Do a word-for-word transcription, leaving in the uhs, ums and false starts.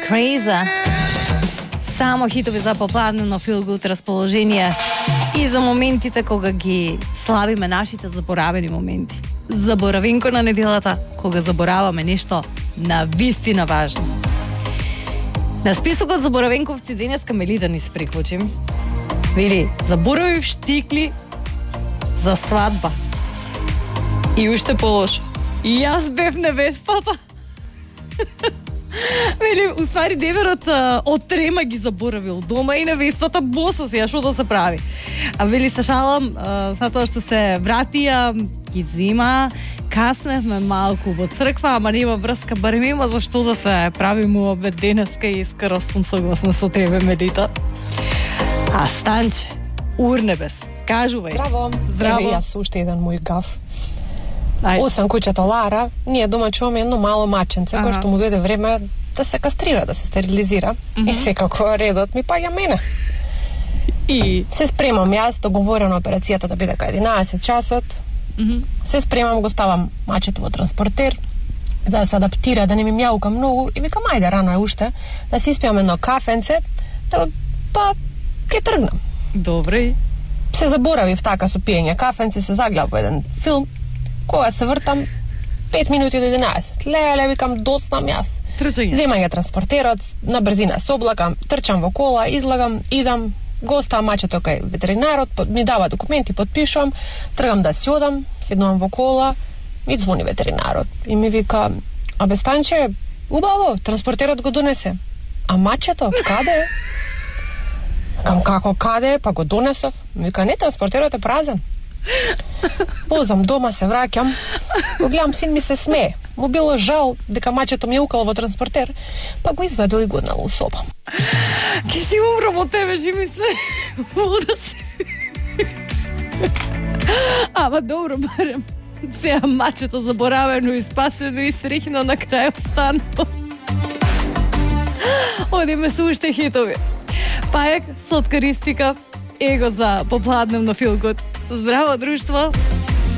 Crazy. Само хитови за попладнено feel good расположение и за моментите кога ги славиме нашите заборавени моменти. Заборавинко на неделата, кога забораваме нешто на вистина важно. На списокот заборавенковци денеска мели да ни се приклучим. Вели, заборавив штикли за свадба. И уште полошо. И јас бев невестата. Вели, уствари деверот од трема ги заборавил дома и невестата босо се, што да се прави. А вели, се шалам, затоа што се вратија, ги зима, касневме малку во црква, ама нема врска, барем има за што да се прави му обед денеска и скоро сум согласна со тебе, Медита. А Станче, Урнебес, кажувај. Здраво. Здраво. Еве јас уште еден мој гаф. Ај. Освен куќата Лара, ние дома чуваме едно мало маченце, кој што му дојде време да се кастрира, да се стерилизира. Mm-hmm. И секако редот ми паѓа мене. И се спремам јас, договорено операцијата да биде кај единаесет часот. Mm-hmm. Се спремам, го ставам мачето во транспортер, да се адаптира, да не ми мјаука многу и викам ајде, рано е уште, да си испијам едно кафенце, да, па ќе тргнам. добре. Се заборавив така со пиење кафенце, се загледав во еден филм. Кога се вртам, пет минути до единаесет. Леле, викам, доцнам јас. Трчање. Земам ја транспортерот, на брзина се облакам, трчам во кола, излагам, идам, го оставам мачето кај ветеринарот, ми дава документи, подпишувам, тргам да си одам, седнувам во кола, ми звони ветеринарот и ми вика, абе Станче, убаво, транспортерот го донесе. А мачето, каде? Кам како каде? Па го донесов. Ми вика, не, транспортерот е празен. Позам дома, се враќам, го гледам, син ми се смее. Му било жал дека мачето ми е укало во транспортер, па го извадил и го однел у соба. Ке си умрам од тебе, живи све. Вода си. Ама добро, барем. Сега мачето заборавено и спасено и срихно на крај останало. Одиме со уште хитови. Пајак, сладкаристика, его за попладневно фил гуд. Здраво, друштво!